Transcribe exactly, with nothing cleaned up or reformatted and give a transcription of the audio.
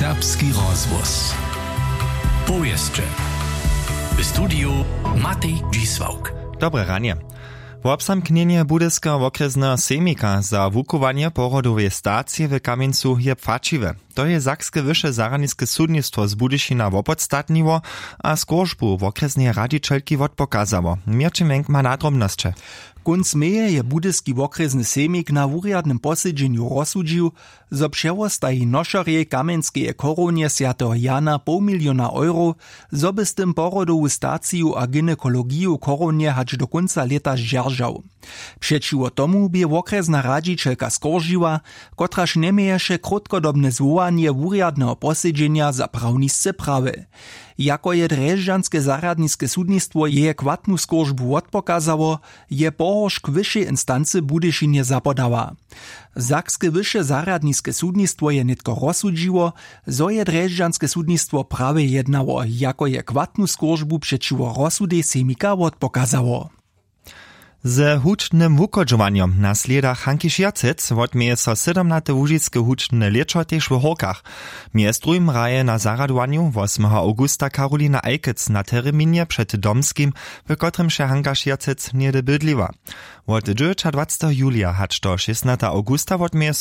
Serbski rozhłos. Powěsće. W studiju Matej Dźisławk. Dobre ranje. Wobzamknjenje Budyskeho wokrjesneho sejmika za wuchowanje porodoweje stacije w Kamjencu je płaćiwe. To je sakske wyše zarjadniske sudnistwo z Budyšina wopodstatniło a skóržbu wokrjesneje radźićelki wotpokazało. Měrćin Wenk ma na drobnosće. Kónc meje je Budyski wokrjesny sejmik na wurjadnym posedźenju rozsudźił, zo přewostaji nošerjej Kamjenskeje chorownje swjateho Jana poł miliona eurow, zo by z tym porodowu staciju a gynekologiju w chorownje hač do kónca lěta zdźeržał. Přećiwo tomu bě wokrjesna radźićelka skóržiła, kotraž njeměješe krótkodobne zwołanje wurjadneho posedźenja za prawnisce prawy. Jako je drježdźanske zarjadniske sudnistwo jeje chwatnu skóržbu wotpokazało, je pohoršk wyšej instancy w Budyšinje zapodała. Sakske wyše zarjadniske sudnistwo je nětko rozsudźiło, zo je drježdźanske sudnistwo prawje jednało, jako je chwatnu skóržbu přećiwo rozsudej sejmika wotpokazało. Ze hudźbnym wuchodźowanjom na slědach Hanki Šěrcec wotměje so sydomnate łužiske hudźbne lěćo tež w Hórkach. Mjez druhim hraje na zarjadowanju wosmeho awgusta Karolina Eikec na terminje před Domskim, w kotrymž je Hanka Šěrcec něhdy bydliła. Wot dźewjećadwaceteho julija hač do šěsnata awgusta wotměje